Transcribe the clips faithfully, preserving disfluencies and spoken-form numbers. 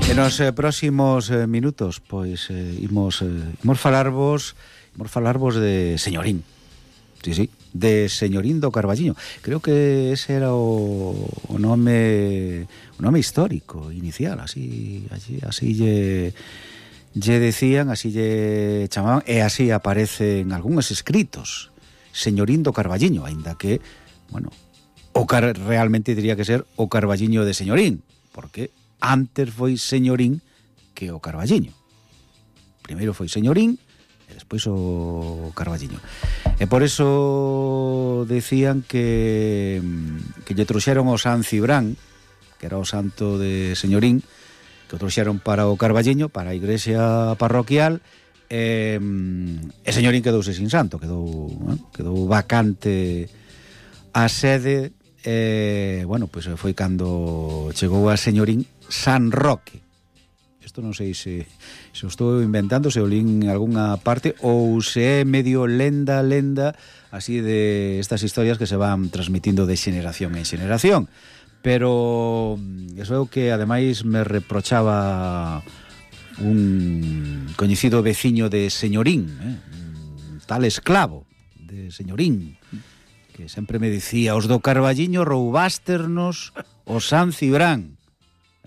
E nos eh, próximos eh, minutos, pois, eh, imos, eh, imos falarvos imos falarvos de Señorín. Sí, sí, de Señorín do Carballiño. Creo que ese era o, o nome o nome histórico, inicial, así, así, así lle, lle decían, así lle chamaban, e así aparece en algúns escritos. Señorín do Carballiño, aínda que, bueno, o car realmente diría que ser o Carballiño de Señorín, porque antes foi Señorín que o Carballiño. Primeiro foi Señorín e despois o Carballiño. E por eso decían que que lle trouxeron o San Cibrán, que era o santo de Señorín, que o trouxeron para o Carballiño, para a igrexa parroquial, e, e Señorín quedouse sin santo, quedou, eh, quedou vacante a sede. E, bueno, pois foi cando chegou a Señorín San Roque. Isto non sei se, se o estou inventando, se o lín en algunha parte, ou se é medio lenda, lenda, así de estas historias que se van transmitindo de xeneración en xeneración. Pero eso é o que ademais me reprochaba un coñecido veciño de Señorín, eh? Un tal esclavo de Señorín, que sempre me dicía: os do Carballiño roubásternos o San Cibrán.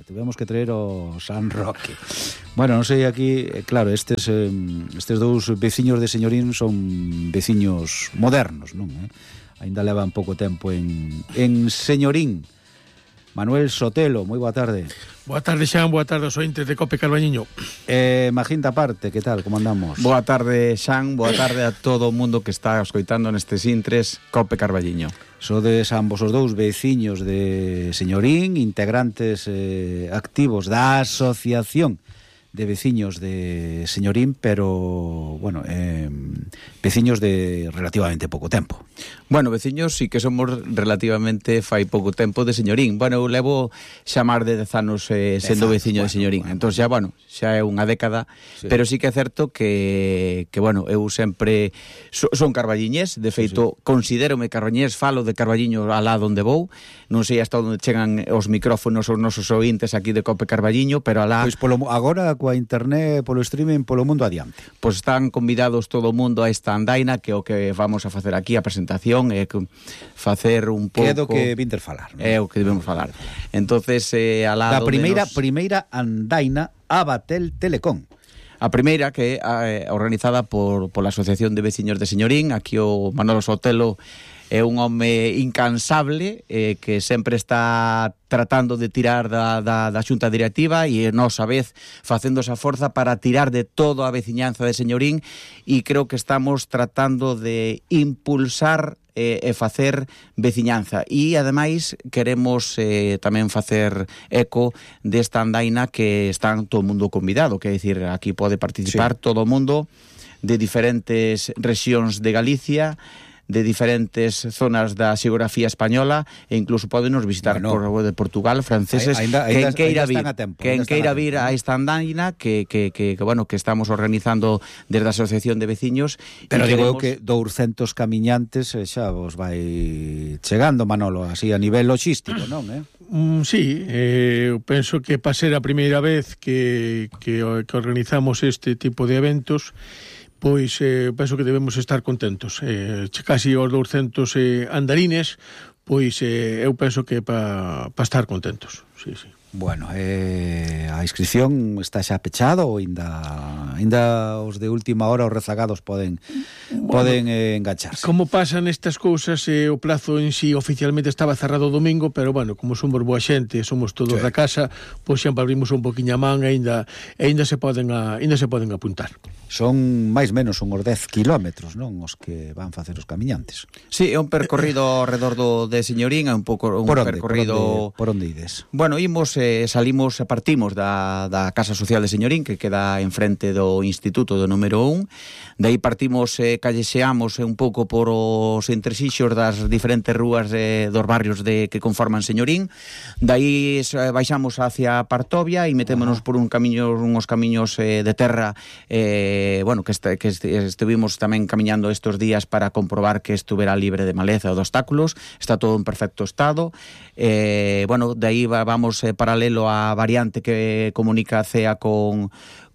Tivemos que traer o San Roque. Bueno, non sei aquí, claro, estes eh, estes dous veciños de Señorín son veciños modernos, non? Eh? Ainda levan pouco tempo en, en Señorín. Manuel Sotelo, moi boa tarde. Boa tarde, Xan, boa tarde aos ointes de Cope Carballiño. Eh, Maginta Parte, que tal, como andamos? Boa tarde, Xan, boa tarde a todo o mundo que está escoitando nestes intres Cope Carballiño. Sodes ambos os dous veciños de Señorín, integrantes eh, activos da Asociación de Veciños de Señorín, pero, bueno, eh, veciños de relativamente pouco tempo. Bueno, veciños sí que somos relativamente fai pouco tempo de Señorín. Bueno, eu levo xa máis de dez anos eh, sendo veciño bueno, de Señorín. Bueno, entón xa, bueno, xa é unha década, sí. Pero sí que é certo que, que bueno, eu sempre so, son carballiñés, de feito, sí, sí. Considérome carballiñés, falo de Carballiño alá donde vou, non sei hasta onde chegan os micrófonos os nosos ointes aquí de Cope Carballiño, pero alá... Pois polo, agora, coa internet, polo streaming, polo mundo adiante. Pois están convidados todo o mundo a esta andaina, que é o que vamos a facer aquí, a presentación, é facer un pouco... Que é do que vinter falar, non? É o que debemos falar. Entonces, eh, al lado da primeira, nos... primeira andaina a Batel Telecom. A primeira, que é eh, organizada por, por la Asociación de Veciños de Señorín. Aquí o Manolo Sotelo é un home incansable, eh, que sempre está tratando de tirar da, da, da xunta directiva e nós a vez facendo esa forza para tirar de todo a veciñanza de Señorín, e creo que estamos tratando de impulsar e, e facer veciñanza, e ademais queremos eh, tamén facer eco desta andaina que están todo o mundo convidado, que é dicir, aquí pode participar sí. Todo o mundo de diferentes rexións de Galicia, de diferentes zonas da xeografía española, e incluso podenos visitar bueno, por de Portugal, franceses, ainda, ainda, quen queira vir, tempo, quen queira vir a esta andaina que, que, que, que, bueno, que estamos organizando desde a Asociación de Veciños. Pero digo queremos... que douscentos camiñantes xa vos vai chegando, Manolo, así a nivel logístico, non, eh? Mm, sí, eh, eu penso que para ser a primeira vez que, que, que organizamos este tipo de eventos, pois eh, penso que debemos estar contentos. Eh, casi os douscentos eh, andarines, pois eh, eu penso que para pa estar contentos. Sí, sí. Bueno, eh, a inscripción está xa pechada ou ainda ainda os de última hora, os rezagados poden bueno, poden eh, engancharse. Como pasan estas cousas, eh, o plazo en sí oficialmente estaba cerrado o domingo, pero bueno, como somos boa xente, somos todos sí. Da casa, pois sempre abrimos un poquinho a man e ainda ainda se poden a, ainda se poden apuntar. Son máis menos uns dez kilómetros, non, os que van facer os camiñantes. Sí, é un percorrido ao redor do de Señorín, é un pouco un por onde, percorrido por onde, por onde ides. Bueno, imos eh, salimos, partimos da, da Casa Social de Señorín, que queda enfrente do Instituto do número un. De aí partimos, eh, callexeamos un pouco por os entresixos das diferentes rúas eh, dos barrios de que conforman Señorín. De aí eh, baixamos hacia Partovia e metémonos por un camiño, unhos camiños eh, de terra eh, eh, bueno, que, este, que este, estuvimos tamén camiñando estos días para comprobar que estuvera libre de maleza ou de obstáculos, está todo en perfecto estado. Eh, bueno, de aí vamos eh, paralelo á variante que comunica a C E A con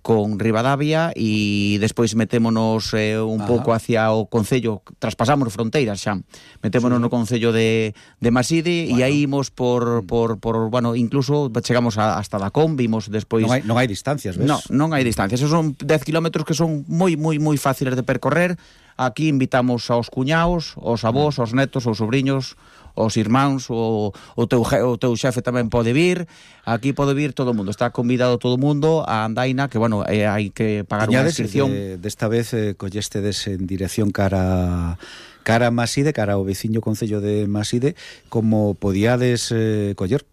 con Ribadavia e despois metémonos eh, un Ajá. pouco hacia o concello, traspasamos fronteiras xa, metémonos sí. no concello de, de Maside bueno. e aí imos por, por, por, bueno, incluso chegamos a, hasta Dacón, vimos despois... Non hai, non hai distancias, ves? Non, non hai distancias, esos son dez kilómetros que son moi, moi, moi fáciles de percorrer. Aquí invitamos aos cuñaos, aos avós, aos netos, aos sobrinhos, os irmáns, o, o, teu, o teu xefe tamén pode vir, aquí pode vir todo o mundo, está convidado todo o mundo a andaina, que, bueno, eh, hai que pagar unha inscripción. De, desta vez eh, collestedes en dirección cara cara a Maside, cara ao veciño concello de Maside, como podíades eh, coller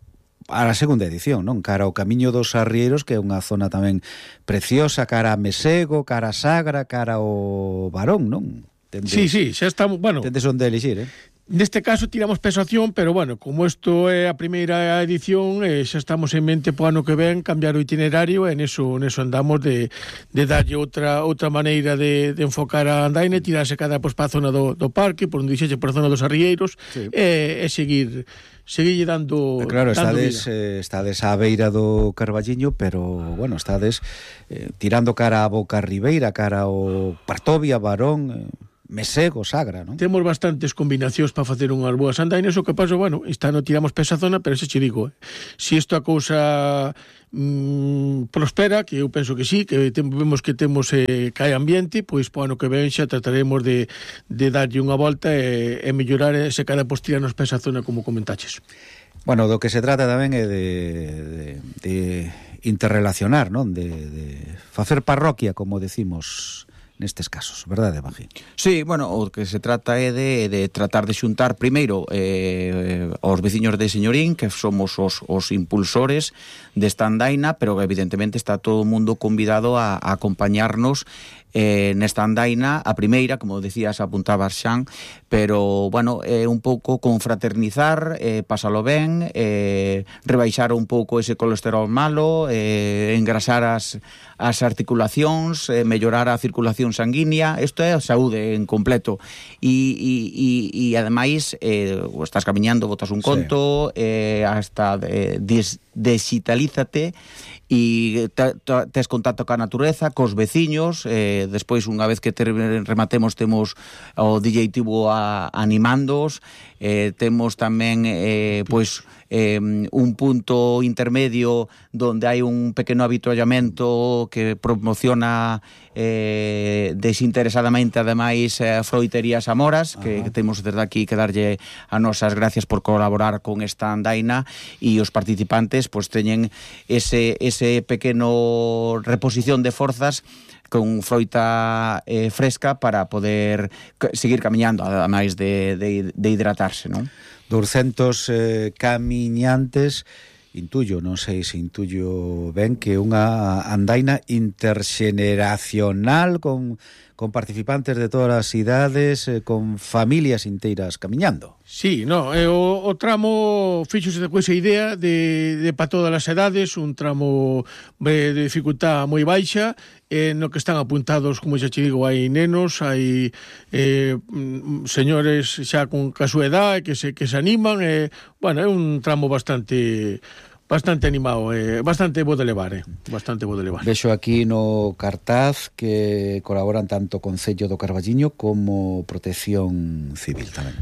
a la segunda edición, non? Cara ao Camiño dos Arrieiros, que é unha zona tamén preciosa, cara a Mesego, cara a Sagra, cara ao Barón, non? Tendes, sí, sí, xa estamos, bueno... Tendes onde elixir, eh? Neste caso tiramos pesación, pero bueno, como isto é a primeira edición, eh, xa estamos en mente po ano que ven cambiar o itinerario, e neso, neso andamos de, de darlle outra outra maneira de, de enfocar a andaina, tirarse cada pois pa zona do, do parque, por onde dixeche, por a zona dos Arrieiros, sí. e, e seguir seguille dando... Claro, dando estades, eh, estades á beira do Carballiño, pero, bueno, estades eh, tirando cara a Boca Ribeira, cara ao Partovia, Barón... Eh... Mesego, Sagra, non? Temos bastantes combinacións para facer unhas boas andainas, o que pasa, bueno, esta non tiramos pa esa zona, pero se che digo, eh, se isto a cousa mm, prospera, que eu penso que sí, que tem, vemos que temos eh, cae ambiente, pois po ano que ven xa trataremos de, de darlle unha volta e, e mellorar ese cada postirarnos pa esa zona, como comentaches. Bueno, do que se trata tamén é de, de, de interrelacionar, non? De, de facer parroquia, como decimos nestes casos, verdade, Magín? Sí, bueno, o que se trata é de, de tratar de xuntar primeiro eh, aos veciños de Señorín, que somos os, os impulsores desta andaina, pero evidentemente está todo o mundo convidado a, a acompañarnos eh, nesta andaina, a primeira, como decías, apuntabas Xan, pero, bueno, é eh, un pouco confraternizar, eh, pasalo ben, eh, rebaixar un pouco ese colesterol malo, eh, engrasar as, as articulacións, eh, mellorar a circulación sanguínea, isto é a saúde en completo. E, e, e, e ademais, eh, estás camiñando, botas un conto, sí. eh, hasta eh, des, digitalízate, e tes contacto ca natureza, cos veciños, eh, despois unha vez que ter, rematemos temos o D J Tibo a, animándoos, eh, temos tamén eh, pois eh, un punto intermedio donde hai un pequeno avituallamento que promociona eh, desinteresadamente ademais eh, Froiterías Amoras, que, que temos desde aquí que darlle a nosas gracias por colaborar con esta andaina, e os participantes pois teñen ese, ese pequeno reposición de forzas con froita eh, fresca para poder seguir camiñando, ademais de, de, de hidratarse, non? doscientos eh, camiñantes, intuyo, non sei se intuyo ben, que unha andaina interxeneracional con, con participantes de todas as idades, eh, con familias inteiras camiñando. Sí, no, eh, o, o tramo fíxose de coisa idea de, de para todas as edades, un tramo de, de dificultad moi baixa, eh, no que están apuntados, como xa te digo, hai nenos, hai eh, señores xa con a súa edad que se, que se animan, eh, bueno, é un tramo bastante... bastante animado, eh, bastante bo de levar, eh, bastante bo de levar. Vexo aquí no cartaz que colaboran tanto o Concello do Carballiño como Protección Civil tamén.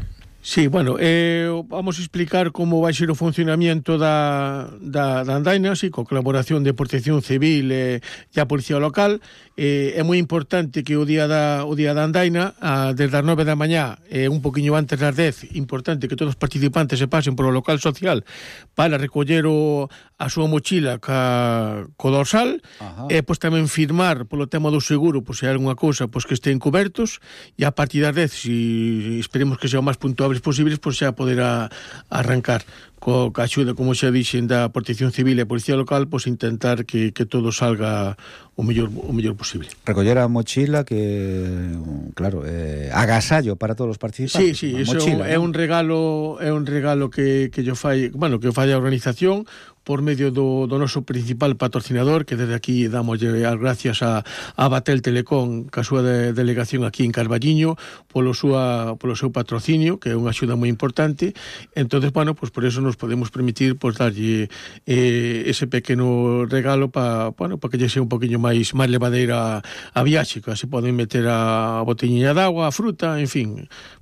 Sí, bueno, eh, vamos a explicar como vai ser o funcionamiento da, da, da andaina, sí, con colaboración de Protección Civil e, e a Policía Local. Eh, é moi importante que o día da, o día da andaina, a, desde as nove da mañá, e eh, un poquinho antes das dez, importante que todos os participantes se pasen por o local social para recoller o, a súa mochila ca, co dorsal, e pois tamén firmar polo tema do seguro, pois se hai alguna cousa, pois que estén cobertos, e a partir das dez, si esperemos que sea o máis puntual posibles, pois xa poderá arrancar co a axuda, como xa dixen, da Protección Civil e Policía Local, pois intentar que, que todo salga o mellor o mellor posible. Recoller a mochila que, claro, eh, agasallo para todos os participantes. Sí, sí, a eso mochila, é ¿no? un regalo, é un regalo que que yo fai, bueno, que fai a organización, por medio do, do noso principal patrocinador, que desde aquí damos as gracias a, a Batel Telecom, ca súa de, delegación aquí en Carballiño, polo, súa, polo seu patrocinio, que é unha axuda moi importante. Entonces, bueno, pues por eso nos podemos permitir pues, darlle eh, ese pequeno regalo para bueno, pa que lle sea un poquinho máis máis levadeira a viaxe, que así poden meter a botelliña de agua, a fruta, en fin,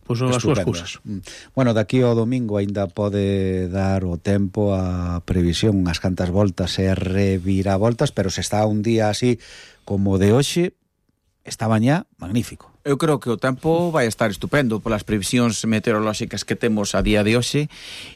pois pues, as súas cousas. Bueno, daqui ao domingo aínda pode dar o tempo a previsión unhas cantas voltas e reviravoltas, pero se está un día así como de hoxe, está mañá magnífico. Eu creo que o tempo vai estar estupendo polas previsións meteorolóxicas que temos a día de hoxe,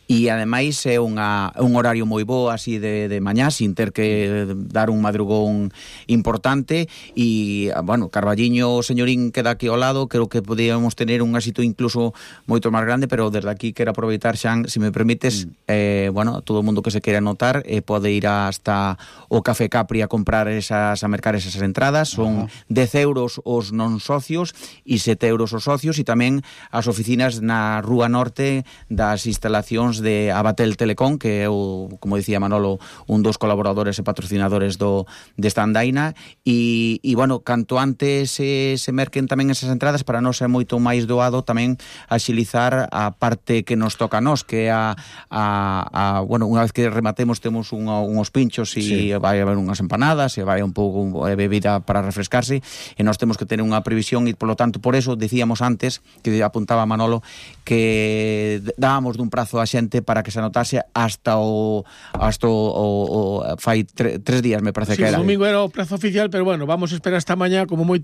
e ademais é unha, un horario moi bo así de, de mañá, sin ter que dar un madrugón importante. E, bueno, Carballiño, Señorín queda aquí ao lado, creo que podíamos tener un éxito incluso moito máis grande, pero desde aquí quero aproveitar, Xan, se me permites, mm. eh, bueno, todo o mundo que se queira anotar eh, pode ir hasta o Café Capri a comprar esas, a mercar esas entradas, son uh-huh. dez euros os non socios e sete euros os socios, e tamén as oficinas na Rúa Norte das instalacións de Abatel Telecom, que é o, como dicía Manolo, un dos colaboradores e patrocinadores do desta andaina, e, e bueno, canto antes se, se merquen tamén esas entradas, para non ser moito máis doado tamén axilizar a parte que nos toca a nós, que é a, a, a bueno, unha vez que rematemos temos un, unhos pinchos e sí. vai haber unhas empanadas e vai un pouco de bebida para refrescarse, e nós temos que tener unha previsión, e polo tanto por eso decíamos antes, que apuntaba Manolo, que dábamos dun prazo a xente para que se anotase hasta o hasta o, o, o fai tre, tres días, me parece sí, que era. O domingo era o prazo oficial, pero bueno, vamos a esperar hasta mañá como moito